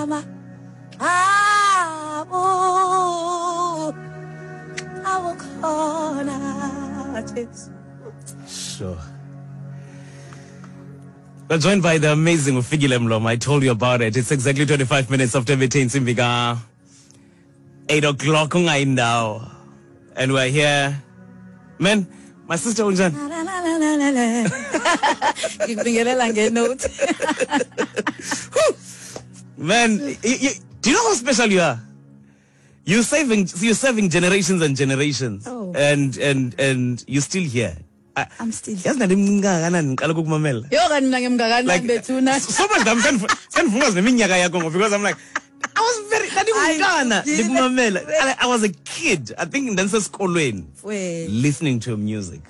Ngama awu awukhona Jesu. Sure. We're joined by the amazing Ufikile Mlomo. I told you about it. It's exactly 25 minutes after intsimbi ka 8 o'clock ungayindawo. And we're here. Man, my sister unjani? Ngikubingelela ngenote. Man, do you know how special you are? You're saving generations and generations. Oh. And you're still here. I'm still here. Yazi ndandimncinci kangakanani ngiqala ukukumamela. Yo, kanti mina ngimngakanani Like bethuna? so much that sandivuma neminyaka yakho ngoba because I'm like, I was very, ndandingumntana Hayi, ndikumamela. I was a kid. I think ndandisesikolweni Wena. listening to your music.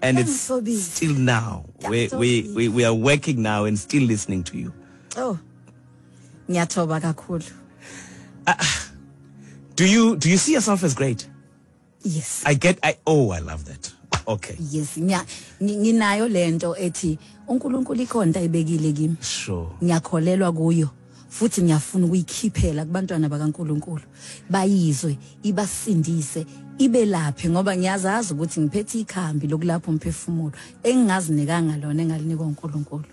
And it's Ngixolile. still now. We are working now and still listening to you. Oh. Ngiyathoba kakhulu. Do you see yourself as great? Yes. I get I oh, I love that. Okay. Yes, nginayo lento ethi uNkulunkulu ikhonta ayibekile kimi. Ngiyakholelwa kuyo futhi ngiyafuna ukuyikhiphela kubantwana bakaNkulunkulu, bayizwe, ibasindise, ibelaphe, ngoba ngiyazazi ukuthi ngiphethe ikhambi lokulapha umphefumulo engingazinikanga lona, engalinikwa uNkulunkulu.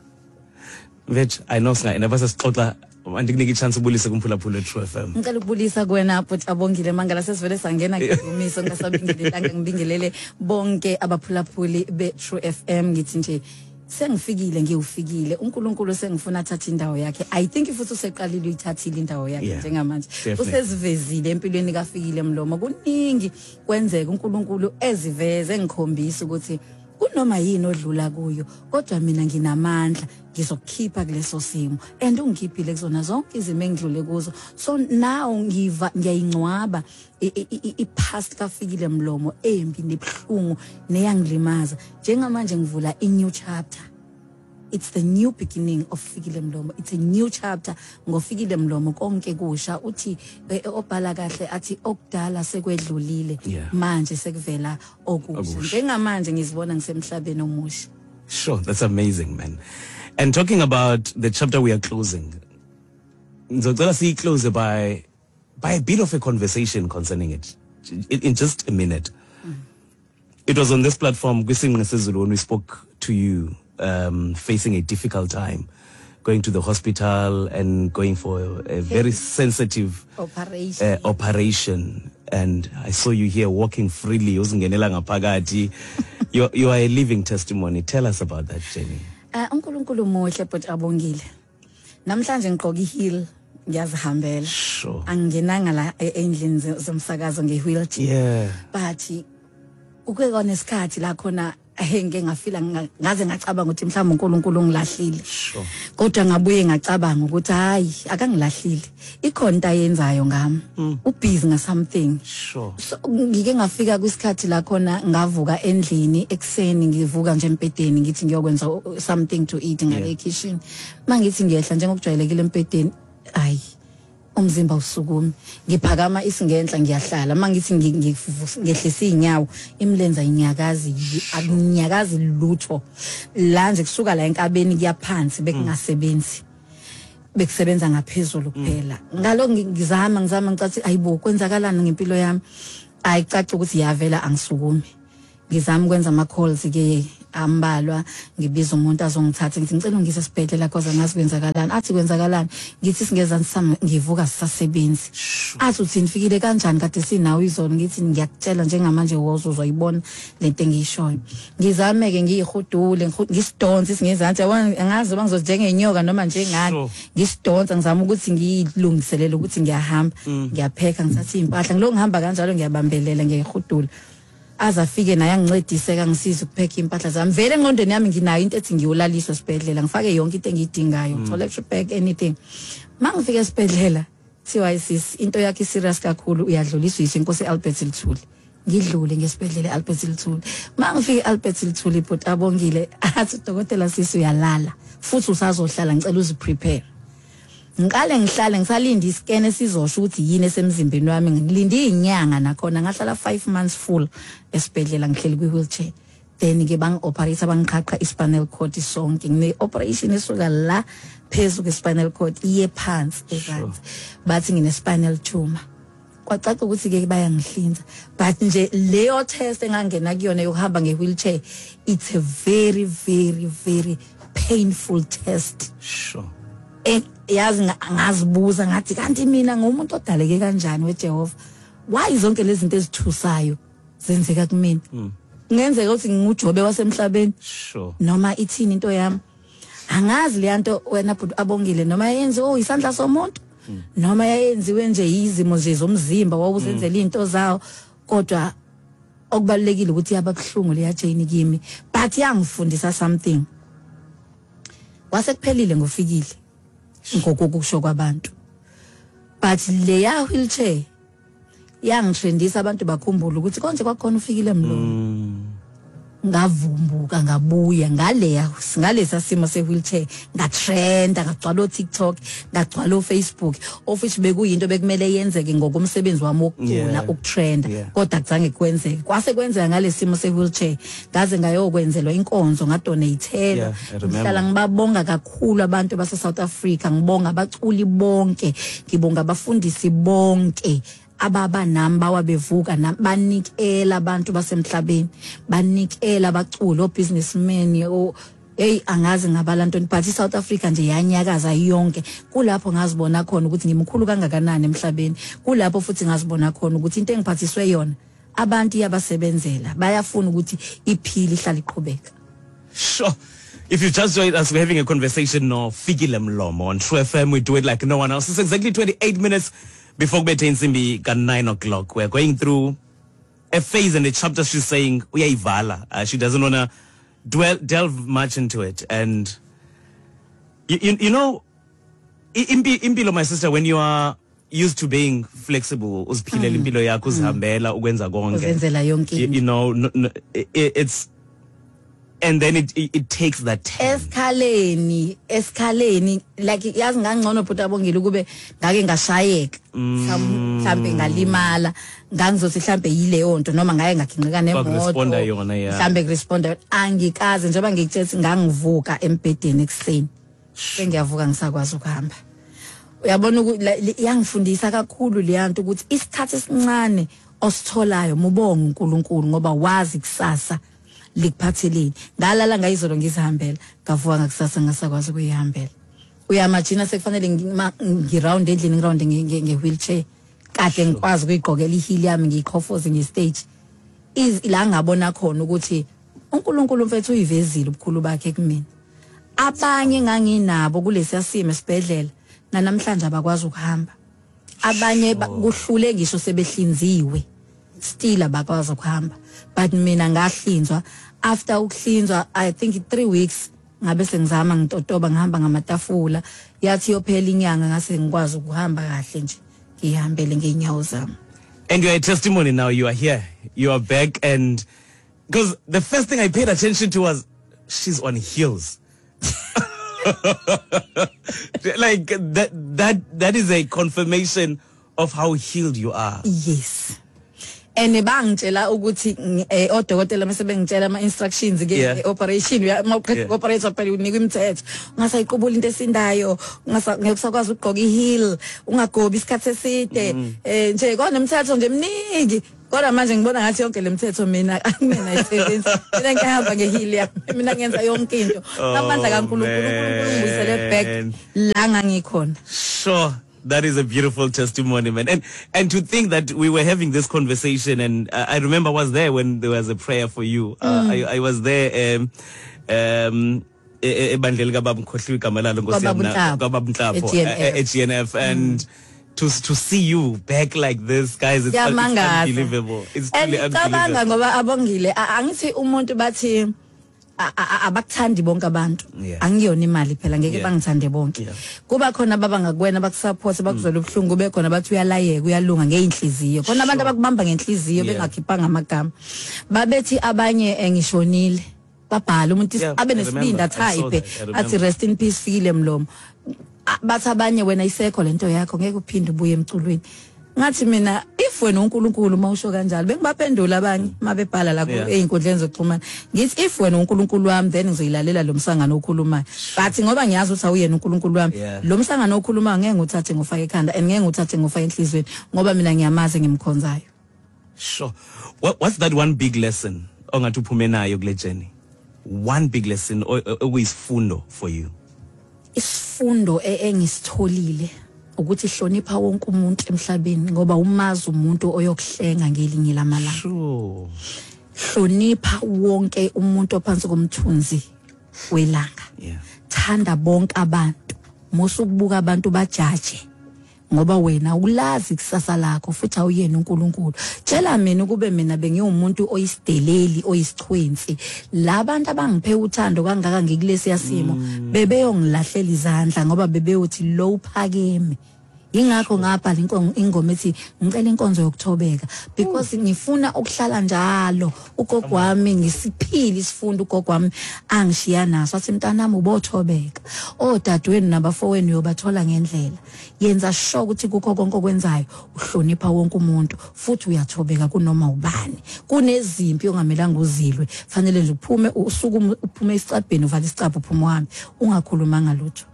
Veg, I know singa never sesixoxa, andikunika i-chance ubulise kumphulaphula e-True FM. Ngicela ukubulisa kuwena bhuti Abongile Mangala. Sesivele sangena ngedumiso ngasabingelelanga. Ngibingelele bonke abaphulaphuli be-True FM. Ngithi nje sengifikile, ngiwufikile uNkulunkulu, sengifuna athathe indawo yakhe. I think futhi useqalile, uyithathile indawo yakhe njengamanje. Usezivezile empilweni kaFikile Mlomo. Kuningi kwenzeka uNkulunkulu eziveze, engikhombisa ukuthi kunoma yini odlula kuyo, kodwa mina nginamandla, ngizokukhipha kuleso simo, and ungikhiphile kuzona zonke izimo engidlule kuzo. So now ngiva ngiyayingcwaba i-past kaFikile Mlomo embi nebuhlungu neyangilimaza. Njengamanje ngivula i-new chapter. It's the new beginning of Fikile Mlomo. It's a new chapter ngoFikile Mlomo, konke kusha. Uthi obhala kahle athi okudala sekwedlulile, manje sekuvela okusha. Okusha. Njengamanje ngizibona ngisemhlabeni omusha. Sure, that's amazing, man. And talking about the chapter we are closing, ngizocela siyi-close by a bit of a conversation concerning it in just a minute. It was on this platform, kwiSingqi Sezulu, when we spoke to you facing a difficult time, going to the hospital and going for a very sensitive operation. Operation. And I saw you here walking freely, uzingenela ngaphakathi. You are a living testimony. Tell us about that journey. UNkulunkulu muhle, but Abongile. Namhlanje ngigqoka i-heel, ngiyazihambela. Angingenanga la endlini zomsakazo nge-wheelchair. But kuke kwanesikhathi la khona ngike ngafila ngaze ngacabanga ukuthi mhlawumbe uNkulunkulu ungilahlile. Kodwa ngabuye ngacabanga ukuthi hayi, akangilahlile. Ikhona into ayenzayo ngami. Ubusy nga something. So ngike ngafika kwisikhathi la khona ngavuka endlini ekseni, ngivuka nje embhedeni, ngithi ngiyokwenza something to eat ngale kitchen. Mangithi ngiyehla njengokujwayelekile embhedeni, ayi, umzimba usukumi. Ngiphakama isingenhla, ngiyahlala. Mangithi ngehlisa inyawo, imilenze ayinyakazi, akunyakazi lutho la nje, kusuka la enkabeni kuyaphansi bekungasebenzi, bekusebenza ngaphezulu kuphela. Ngalo ngizama, ngizama, ngicathi ayibo, kwenzakalani ngempilo yami? Ayicaci ukuthi yavela, angisukumi. Ngizama ukwenza ama calls ke ambalwa, ngibiza umuntu azongithatha, ngithi ngicela ungise esibhedlela cause angazi kwenzakalani. Athi kwenzakalani? Ngithi singezansi sami ngivuka sisasebenzi. Athi uthi nifikile kanjani, kade sinawo izolo? Ngithi ngiyakutshela njengamanje, wozo uzoyibona lento engiyishoyo. Ngizame ke, ngiyihudule, ngisidonse singezansi, yabona, angazi uma ngizothi njengenyoka noma njengani. Ngisidonsa, ngizama ukuthi ngiyilungiselele ukuthi ngiyahamba, ngiyapheka, ngithatha iy'mpahla, ngilokhu ngihamba kanjalo, ngiyabambelela, ngiyayihudula, aze afike naye angincedise, kangisiza ukupheka iy'mpahla zami. Vele engqondweni yami nginayo into ethi ngiyolaliswa esibhedlela, ngifake yonke into engiyidingayo, toiletry bag, anything. Ma ngifika esibhedlela kuthiwa sis, into yakhe i-serious kakhulu, uyadluliswa yisho Inkosi Albert Luthuli. Ngidlule ngesibhedlela e-Albert Luthuli. Ma ngifika e-Albert Luthuli, bhuti Abongile, athi udokotela, "Sisi, uyalala futhi usazohlala, ngicela uziprepare." Ngiqale ngihlale ngisalinde iscan esizosho ukuthi yini esemzimbeni wami. Ngilinde izinyanga nakhona, ngahlala 5 months full esibhedlela, ngihleli kwi-wheelchair. Then ke bangi-operate, bangiqhaqha i-spinal cord sonke. Ngine-operation esuka la phezu kwe-spinal cord iye phansi ezansi. Bathi ngine-spinal tumor. Kwacaca ukuthi ke bayangihlinza, but nje leyo test engangena kuyona yokuhamba nge-wheelchair, it's a very, very, very painful test. Yazi ngazibuza ngathi, kanti mina ngumuntu odaleke kanjani weJehova? Why zonke lezi zinto ezithusayo zenzeka kumina? Kungenzeka ukuthi nginguJobe wasemhlabeni? Noma ithini into yami? Angazi le nto wena bhuti Abongile, noma yenziwe, oh, isandla somuntu, noma yayenziwe nje izimo nje zomzimba wawuzenzela into zawo. Kodwa okubalulekile ukuthi yababuhlungu leya journey kimi, but yangifundisa something. Kwasekuphelile ngoFikile ngokokusho kwabantu, but leya wheelchair yangitrendisa, abantu bakhumbula ukuthi konje kwakhona uFikile Mlomo. Ngavumbuka, ngabuya ngaleya, ngalesa simo se-wheelchair, ngatrenda, ngagcwala o-TikTok, ngagcwala o-Facebook, of which bekuyinto bekumele yenzeke ngokomsebenzi wami wokucula, ukutrenda. Kodwa kuzange kwenzeke, kwase kwenzeka ngalesimo se-wheelchair. Ngaze ngayokwenzelwa inkonzo, ngadonatelwa. Yeah, I remember. Ngihlala ngibabonga kakhulu abantu base South Africa, ngibonga abaculi bonke, ngibonga abafundisi bonke ababa nami, bawa bevuka nami, banikela abantu basemhlabeni, banikela abaculi, o-businessmen, o hey, angazi ngabala ntoni, but iSouth Africa nje yanyakaza yonke. Kulapho ngazibona khona ukuthi ngimkhulu kangakanani emhlabeni. Kulapho futhi ngazibona khona ukuthi into engiphathiswe yona abantu iyabasebenzela, bayafuna ukuthi iphile, ihlale iqhubeka. Sure. If you just joined us, we're having a conversation no Fikile Mlomo on True FM. We do it like no one else. It's exactly 28 minutes before kubethe insimbi ka 9 o'clock. We're going through a phase and a chapter she's saying uyayivala. She doesn't want to delve much into it. And you know, impilo, my sister, when you are used to being flexible, uziphilela impilo yakho, uzihambela, ukwenza konke. Uzenzela yonke into. No, it's and then it takes that turn. Esikhaleni like, yazi, ngangcono bhuti Abongile kube ngake ngashayeka, mhlambe ngalimala, ngangizothi mhlambe yileyo nto, noma ngake ngaginqika nemoto. Kwakuresponda yona, yeah. Mhlambe kuresponda. Angikaze, njengoba ngikutshela, ngangivuka embhedeni ekuseni, sengiyavuka ngisakwazi ukuhamba. Uyabona, iyangifundisa kakhulu leya nto ukuthi isikhathi esincane ositholayo, mubonge uNkulunkulu, ngoba wazi kusasa likuphatheleni. Ngalala ngayizolo ngizihambela, ngavuka ngakusasa ngasakwazi ukuyihambela. Uyamagina sekufanele ngiround endlini, ngiround nge-wheelchair, kade ngikwazi ukuyigqokela i-heel yami, ngiyiqhofoze nge-stage. La ngabona khona ukuthi uNkulunkulu mfethu uyivezile ubukhulu bakhe kumina. Abanye nganginabo kulesiya simo esibhedlela, namhlanje abakwazi ukuhamba. Abanye kuhlule ngisho sebehlinziwe, still abakwazi ukuhamba, but mina ngahlinzwa. After ukuhlinzwa, I think 3 weeks, ngabe sengizama ngitotoba, ngihamba ngamatafula. Yathi yophela inyanga, ngase ngikwazi ukuhamba kahle nje, ngihambele ngeenyawo zami. And you are a testimony now. You are here. You are back. And because the first thing I paid attention to was she's on heels. Like that is a confirmation of how healed you are. Yes, and bangitshela ukuthi odokotela mase bengitshela ama instructions ke operation, mawuqeda operate phela unikwa imithetho, ungasayiqubula into esindayo, ungasa ngeke usakwazi ukugqoka i-heel, ungagobi isikhathi eside, nje kona imithetho nje eminingi. Kodwa manje ngibona ngathi yonke le mithetho mina mina ayisebenzi. Mina ngihamba nge-heel yami, mina ngenza yonke into ngamandla kaNkulunkulu. uNkulunkulu ngibuyisele back Man. la ngangikhona. Sure. That is a beautiful testimony, man. And to think that we were having this conversation, and I remember I was there when there was a prayer for you. I was there ebandleni kababa, ngikhohliwe igama lalo, Nkosi yami. Kwababa uNhlapho. Kwababa Nhlapho, E-GNF. e-GNF, and to see you back like this, guys, it's Kuyamangaza. unbelievable. It's And truly ngicabanga unbelievable. ngoba Abongile, angithi umuntu bathi abakuthandi bonke abantu. Angiyona imali phela, ngeke bangithande bonke. Kuba khona baba ngakuwena, bakusupport, bakuzwela ubuhlungu, kube khona bathi uyalayeka, uyalunga ngeinhliziyo, khona abantu abakubamba ngenhliziyo bengakhiphanga amagama. Babethi abanye ngishonile, babhala umuntu Yeah, abe I nesibindi, remember. I saw atype that. I remember. athi, "Rest in peace, Fikile Mlomo." Bathi abanye, "Wena isekho lento yakho, ngeke uphinde ubuye emculweni." Ngathi mina, if wena uNkulunkulu, mawusho kanjalo, bengibaphendula abanye mabebhala la einkundleni zokuxhumana, ngithi if wena uNkulunkulu wami, then ngizoyilalela lo msangano okhulumayo, but ngoba ngiyazi ukuthi awuyena uNkulunkulu wami, lo msangano okhulumayo ngeke nguthathe ngofake ekhanda and ngeke nguthathe ngofake enhlizweni, ngoba mina ngiyamazi ngimkhonzayo. Sure. What's that one big lesson ongathi uphume nayo kule journey? One big lesson okuyisifundo for you. Isifundo engisitholile ukuthi hlonipha wonke umuntu emhlabeni, ngoba umazi umuntu oyokuhlenga ngelinye lamalanga. Hlonipha wonke umuntu ophansi komthunzi welanga. Thanda bonke abantu. Musa ukubuka abantu bajaje, ngoba wena ulazi ikusasa lakho futhi awuyena uNkulunkulu. Tshela mina, ukube mina bengiwumuntu oyisideleli, oyisichwensi, labantu abangiphe uthando kangaka ngikulesiya simo bebeyongilahlela izandla, ngoba bebeyothi lo uphakeme. Ingakho ngabhala ingoma ethi "Ngicela Inkonzo Yokuthobeka", because ngifuna ukuhlala njalo ugogo wami ngisiphile isifundo ugogo wami angishiya naso, athi, "Mntanami, ubothobeka, odadewenu nabafowenu uyobathola ngendlela. Yenza sure ukuthi kukho konke okwenzayo uhlonipha wonke umuntu futhi uyathobeka kunoma ubani. Kunezimpi ongamelanga uzilwe, fanele nje uphume, usukume, uphume esicabheni, uvale isicabha, uphume uhambe ungakhulumanga lutho."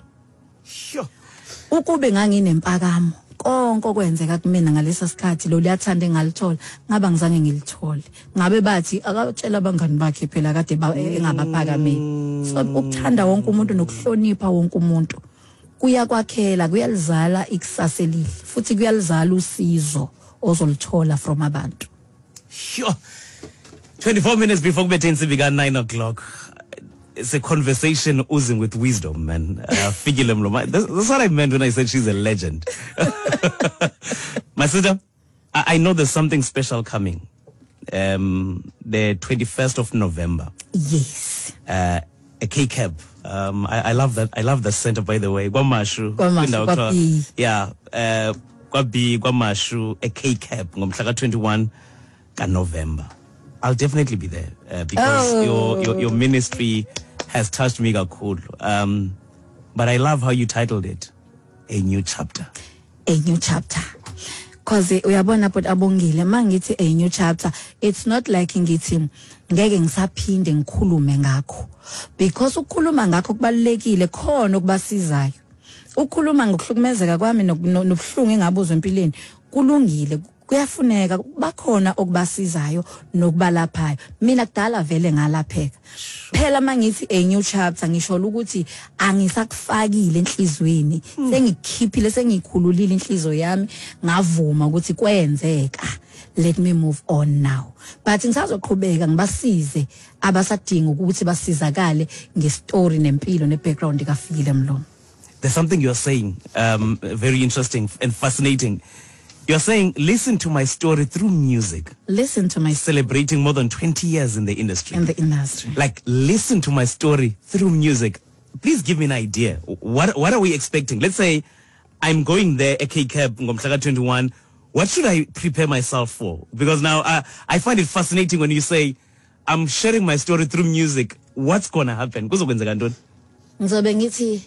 Ukube nganginempakamo, konke okwenzeka kumina ngalesa sikhathi, lo liyathanda engalithola, ngaba ngizange ngilithole, ngabe bathi akatshela abangani bakhe phela kade engabaphakameli. So ukuthanda wonke umuntu nokuhlonipha wonke umuntu kuyakwakhela, kuyalizala ikusasa elihle futhi kuyalizala usizo ozolithola from abantu. Sure. 24 minutes before kubethe insimbi ka-9 o'clock. It's a conversation oozing with wisdom, man. Fikile Mlomo. That's what I meant when I said she's a legend. My sister, I know there's something special coming. The 21st of November. Yes. A K-Cab. I love that. I love the center, by the way. KwaMashu. KwaMashu, Kwindawo kwa kuthiwa- B. Yeah. Kwa B, KwaMashu, a K-Cab. Ngomhla ka-21 ka-November. I'll definitely be there because your ministry has touched me kakhulu. But I love how you titled it, "A New Chapter." A new chapter. 'Cause uyabona, but Abongile, mangithi a new chapter, it's not like ngithi ngeke ngisaphinde ngikhulume ngakho, because ukukhuluma ngakho kubalulekile, khona okubasizayo. Ukukhuluma ngokuhlukumezeka kwami nobuhlungu engabuzwa empilweni kulungile, kuyafuneka, bakhona okubasizayo nokubalaphayo. Mina kudala vele ngalapheka phela. Mangithi a new chapter, ngisho ukuthi angisakufakile enhlizweni, sengikhiphile, sengikhululile inhliziyo yami, ngavuma ukuthi kwenzeka, let me move on now. But ngisazoqhubeka ngibasize abasadinga ukuthi basizakale ngestory nempilo nebackground kaFikile Mlomo. There's something you're saying, very interesting and fascinating. You're saying, listen to my story through music. Listen to my Celebrating more than 20 years in the industry. In the industry. Like, listen to my story through music. Please give me an idea. What are we expecting? Let's say I'm going there, AK Cab, ngomhla 21. What should I prepare myself for? Because now I find it fascinating when you say, "I'm sharing my story through music." What's going to happen? Kuzokwenzeka ntoni? Ngizobe ngithi